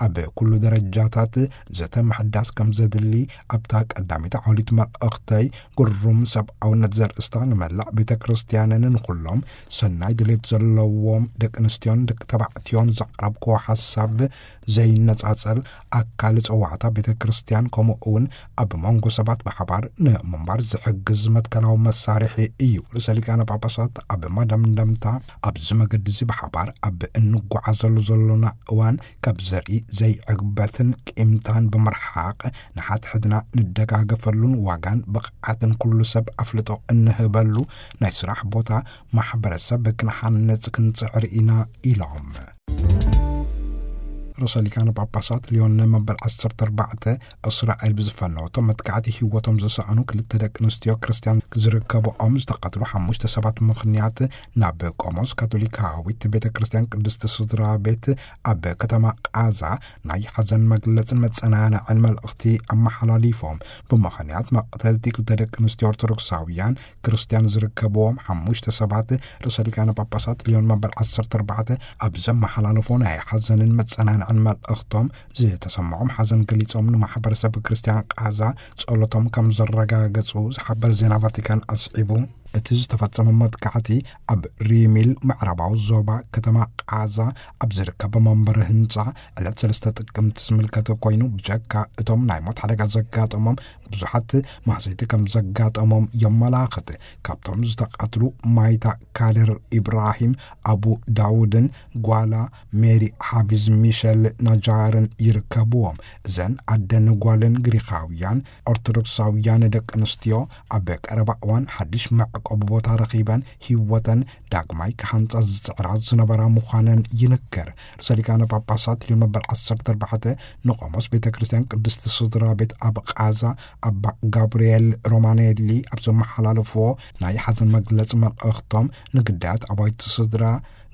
ኣብ ኩሉ ደረጃታት ዘተ ምሕዳስ ከም ዘድሊ ኣብታ ቀዳሚት ዓውሊት መልእኽተይ ግሩም ሰብኣውነት ዘርእስታ ንመላእ ቤተ ክርስቲያንን ንኹሎም ሰናይ ድሌት ዘለዎም ደቂ ኣንስትዮን ደቂ ተባዕትዮን ዘቕረብክዎ ሓሳብ ዘይነጻጸል ኣካል ጸዋዕታ ቤተ ክርስቲያን ከምኡ እውን ኣብ መንጎ ሰባት ብሓባር ንምንባር ዝሕግዝ መትከላዊ መሳርሒ እዩ። ርእሰ ሊቃነ ጳጳሳት ኣብ መደምደምታ ኣብዚ መገዲ እዚ ብሓባር ኣብ እንጓዓዘሉ ዘሎና እዋን ካብ ዘርኢ ዘይዕግበትን ቂምታን ብምርሓቕ ንሓድሕድና ንደጋገፈሉን ዋጋን ብቕዓትን ኩሉ ሰብ ኣፍልጦ እንህበሉ ናይ ስራሕ ቦታ ማሕበረሰብ ክንሓንጽ ክንጽዕር ኢና ኢሎም። ርእሰ ሊቃነ ጳጳሳት ሊዮን መበል ዓሰርተ ኣርባዕተ እስራኤል ብዝፈነወቶ መጥቃዕቲ ህይወቶም ዝሰኣኑ ክልተ ደቂ ኣንስትዮ ክርስትያን ዝርከብኦም ዝተቐትሉ ሓሙሽተ ሰባት ምኽንያት ናብ ቆሞስ ካቶሊካዊት ቤተ ክርስትያን ቅድስቲ ስድራ ቤት ኣብ ከተማ ቃዛ ናይ ሓዘን መግለጽን መጸናንዕን መልእኽቲ ኣመሓላሊፎም። ብምኽንያት መቕተልቲ ክልተ ደቂ ኣንስትዮ ኦርቶዶክሳውያን ክርስትያን ዝርከብዎም ሓሙሽተ ሰባት ርእሰ ሊቃነ ጳጳሳት ሊዮን መበል ዓሰርተ ኣርባዕተ ኣብ ዘመሓላለፎ ናይ ሓዘንን መጸናንዕን መልእኽቶም ዝተሰምዖም ሓዘን ገሊጾም ንማሕበረሰብ ክርስትያን ቃዛ ጸሎቶም ከም ዘረጋገጹ ዝሓበር ዜና ቫቲካን ኣስዒቡ፣ እቲ ዝተፈጸመ መጥቃዕቲ ኣብ ሪሚል ምዕራባዊ ዞባ ከተማ ቃዛ ኣብ ዝርከብ መንበሪ ህንጻ ዕለት ሰለስተ ጥቅምቲ ዝምልከተ ኮይኑ፣ ብጀካ እቶም ናይ ሞት ሓደጋ ዘጋጠሞም ብዙሓት ማህሰይቲ ከም ዘጋጠሞም የመላኽት። ካብቶም ዝተቐትሉ ማይታ ካድር ኢብራሂም ኣቡ ዳውድን ጓላ ሜሪ ሓፊዝ ሚሸል ናጃርን ይርከብዎም። እዘን ኣደን ጓልን ግሪኻውያን ኦርቶዶክሳውያን ደቂ ኣንስትዮ ኣብ ቀረባ እዋን ሓድሽ መዕቆቢ ቦታ ረኺበን ህይወተን ዳግማይ ክሃንጻ ዝጽዕራ ዝነበራ ምዃነን ይንገር። ርእሰ ሊቃነ ጳጳሳት ሊዮን መበል ዓሰርተ ኣርባዕተ ንቆሞስ ቤተ ክርስቲያን ቅድስቲ ስድራ ቤት ኣብ ቃዛ ኣባ ጋብርኤል ሮማኔሊ ኣብ ዘመሓላለፍዎ ናይ ሓዘን መግለጺ መልእኽቶም፣ ንግዳያት ኣባይቲ ስድራ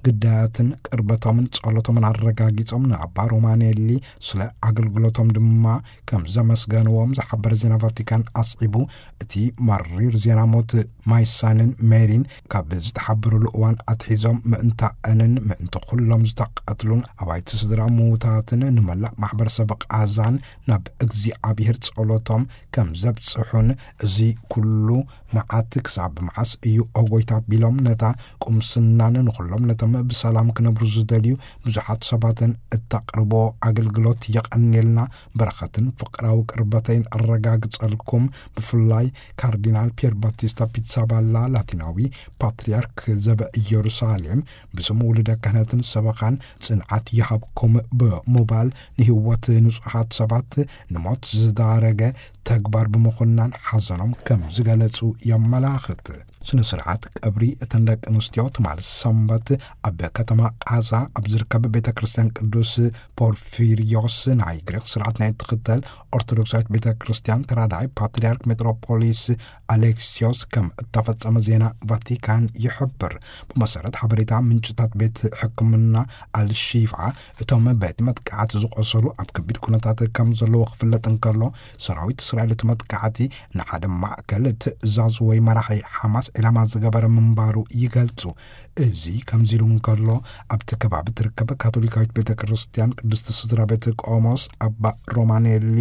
ግዳያትን ቅርበቶምን ጸሎቶምን ኣረጋጊጾም፣ ንኣባ ሮማኔሊ ስለ ኣገልግሎቶም ድማ ከም ዘመስገንዎም ዝሓበረ ዜና ቫቲካን ኣስዒቡ፣ እቲ መሪር ዜና ሞት ማይሳንን ሜሪን ካብ ዝተሓበረሉ እዋን ኣትሒዞም ምእንታእንን ምእንቲ ኩሎም ዝተቐትሉን ኣባይቲ ስድራ ምዉታትን ንመላእ ማሕበረሰብ ቃዛን ናብ እግዚኣብሔር ጸሎቶም ከም ዘብጽሑን፣ እዚ ኩሉ መዓት ክሳብ መዓስ እዩ ኦ ጎይታ ቢሎም ነታ ቁምስናን ንኹሎም ነቶም ብሰላም ክነብሩ ዝደልዩ ብዙሓት ሰባትን እተቕርቦ ኣገልግሎት የቐንየልና፣ በረኸትን ፍቕራዊ ቅርበተይን ኣረጋግጸልኩም። ብፍላይ ካርዲናል ፒየር ባቲስታ ፒትሳባላ ላቲናዊ ፓትርያርክ ዘበ ኢየሩሳሌም ብስሙ ውሉደ ክህነትን ሰበኻን ጽንዓት ይሃብኩም ብምባል ንህይወት ንጹሃት ሰባት ንሞት ዝዳረገ ተግባር ብምኹናን ሓዘኖም ከም ዝገለጹ የመላኽት። ስነ ስርዓት ቀብሪ እተን ደቂ ኣንስትዮ ትማሊ ሰንበት ኣብ ከተማ ቃዛ ኣብ ዝርከብ ቤተ ክርስቲያን ቅዱስ ፖርፊሪዮስ ናይ ግሪክ ስርዓት ናይ እትኽተል ኦርቶዶክሳዊት ቤተ ክርስቲያን ተራዳኢ ፓትርያርክ ሜትሮፖሊስ ኣሌክሲዮስ ከም እተፈጸመ ዜና ቫቲካን ይሕብር። ብመሰረት ሓበሬታ ምንጭታት ቤት ሕክምና ኣልሺፋ፣ እቶም በቲ መጥቃዕቲ ዝቆሰሉ ኣብ ከቢድ ኩነታት ከም ዘለዉ ክፍለጥ እንከሎ፣ ሰራዊት እስራኤል እቲ መጥቃዕቲ ንሓደ ማእከል ትእዛዝ ወይ መራሒ ሓማስ ዒላማ ዝገበረ ምንባሩ ይገልጹ። እዚ ከምዚ ኢሉ እንከሎ፣ ኣብቲ ከባቢ ትርከብ ካቶሊካዊት ቤተ ክርስቲያን ቅድስቲ ስድራ ቤት ቆሞስ ኣባ ሮማኔሊ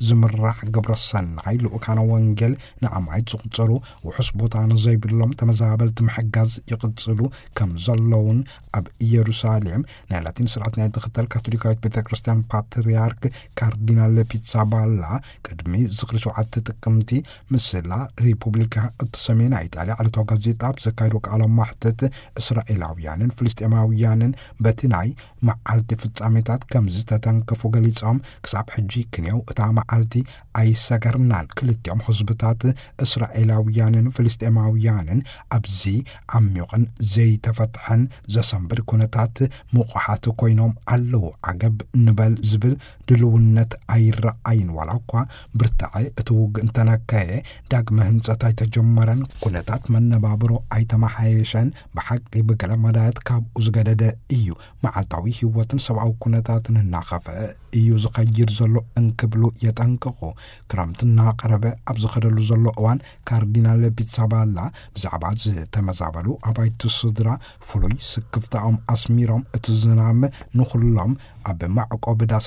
ዝምራሕ ግብረ ሰናይ ልኡካነ ወንጌል ንኣማይት ዝቑጸሩ ውሑስ ቦታ ንዘይብሎም ተመዛበልቲ ምሕጋዝ ይቕጽሉ ከም ዘለውን፣ ኣብ ኢየሩሳሌም ናይ ላቲን ስርዓት ናይ ትኽተል ካቶሊካዊት ቤተ ክርስቲያን ፓትርያርክ ካርዲናል ፒትሳባላ ቅድሚ ዝኽሪ ሸውዓተ ጥቅምቲ ምስ ላ ሪፑብሊካ እተሰምየ ናይ ኢጣልያ ዕለታዊ ጋዜጣ ኣብ ዘካየዶ ቃለ መሕትት፣ እስራኤላውያንን ፍልስጤማውያንን በቲ ናይ መዓልቲ ፍጻሜታት ከም ዝተተንከፉ ገሊጾም፣ ክሳብ ሕጂ ክንየው እታ መዓልቲ ኣይሰገርናን። ክልቲኦም ህዝብታት እስራኤላውያንን ፍልስጤማውያንን ኣብዚ ዓሚቑን ዘይተፈትሐን ዘሰንብድ ኩነታት ምቑሓት ኮይኖም ኣለዉ። ዓገብ ንበል ዝብል ድልውነት ኣይረኣይን። ዋላ እኳ ብርታዐ እቲ ውግእ እንተነከየ፣ ዳግመ ህንጸት ኣይተጀመረን፣ ኩነታት መነባብሮ ኣይተመሓየሸን። ብሓቂ ብገለ መዳያት ካብኡ ዝገደደ እዩ። መዓልታዊ ህይወትን ሰብኣዊ ኩነታትን እናኸፍአ እዩ ዝኸይድ ዘሎ እንክብሉ የጠንቅቑ። ክረምቲ እናቐረበ ኣብ ዝኸደሉ ዘሎ እዋን፣ ካርዲናል ፒትሳባላ ብዛዕባ ዝተመዛበሉ ኣባይቲ ስድራ ፍሉይ ስክፍታኦም ኣስሚሮም፣ እቲ ዝናም ንኹሎም ኣብ መዕቆቢ ዳሳ